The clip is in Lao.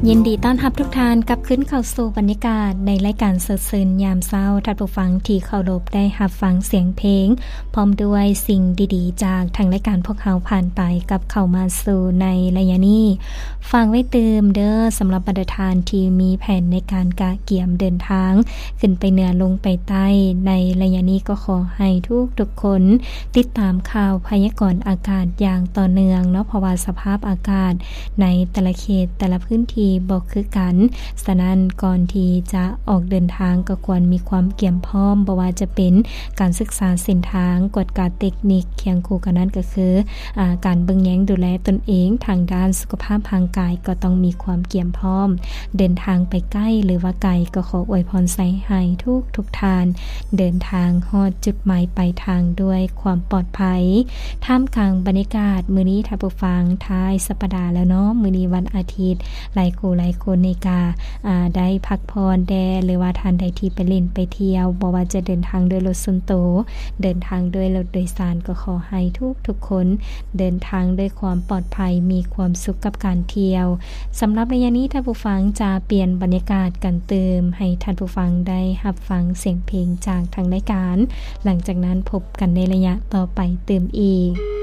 ຍິນດີຕ້ອນຮັບທຸກທ່ານກັບຄືນເຂົ້າສູ່ບັນຍາກາດໃນລາຍການສົດຊື່ນຍາມເຊົ້າ. ທ່ານຜູ້ຟັງທີ່ເຄົາລົບ, ໄດ້ຮັບຟັງສຽງເພງ ພ້ອມດ້ວຍສິ່ງດີໆຈາກທາງລາຍການພວກເຮົາຜ່ານໄປກັບເຂົ້າມາສູ່ໃນໄລຍະນີ້. ຝາກໄວ້ຕື່ມເດີ້, ສຳລັບບັນດາທ່ານທີ່ມີແຜນໃນການກະກຽມເດີນທາງຂຶ້ນໄປເໜືອລົງໄປໃຕ້, ໃນໄລຍະນີ້ກໍຂໍໃຫ້ທຸກໆຄົນຕິດຕາມຂ່າວພະຍາກອນອາກາດຢ່າງຕໍ່ເນື່ອງເນາະ, ເພາະວ່າສະພາບອາກາດໃນແຕ່ລະເຂດແຕ່ລະພື້ນທີ່ບໍ່ຄືກັນ. ສະນັ້ນ ກ່ອນທີ່ຈະອອກເດີນທາງກໍຄວນມີຄວາມກຽມພ້ອມ, ບໍ່ວ່າຈະເປັນການສຶກສາເສັ້ນທາງ, ກວດກາເຕັກນິກ, ຄຽງຄູ່ກັນນັ້ນກໍຄື ອາ ການເບິ່ງແຍງດູແລຕົນເອງທາງດ້ານສຸຂະພາບຮ່າງກາຍກໍຕ້ອງມີຄວາມກຽມພ້ອມ. ເດີນທາງໄປໃກ້ ຫຼືວ່າໄກ ກໍຂໍອວຍພອນໃສ່ໃຫ້ທຸກໆທ່ານເດີນທາງຮອດຈຸດໝາຍປາຍທາງດ້ວຍຄວາມປອດໄພ. ທ່າມກາງບັນຍາກາດມື້ນີ້ ທ່ານຜູ້ຟັງ, ທ້າຍສັບປະດາແລ້ວເນາະ, ມື້ນີ້ວັນອາທິດ, ຫຼາຍຄູ່ຫຼາຍຄົນນີ້ກະ ອາ ໄດ້ພັກຜ່ອນແດ່ ຫຼືວ່າທ່ານໃດທີ່ໄປຫຼິ້ນໄປທ່ຽວ, ບໍ່ວ່າຈະເດີນທາງດ້ວຍລົດສ່ວນໂຕ, ເດີນທາງດ້ວຍລົດໂດຍສານ, ກໍຂໍໃຫ້ທຸກໆຄົນເດີນທາງດ້ວຍຄວາມປອດໄພ, ມີຄວາມສຸກກັບການທ່ຽວ. ສຳລັບໄລຍະນີ້ ທ່ານຜູ້ຟັງຈະປ່ຽນບັນຍາກາດກັນຕື່ມ ໃຫ້ທ່ານຜູ້ຟັງໄດ້ຮັບຟັງສຽງເພງຈາກທາງລາຍການ. ຫຼັງຈາກນັ້ນພົບກັນໃນໄລຍະຕໍ່ໄປຕື່ມອີກ.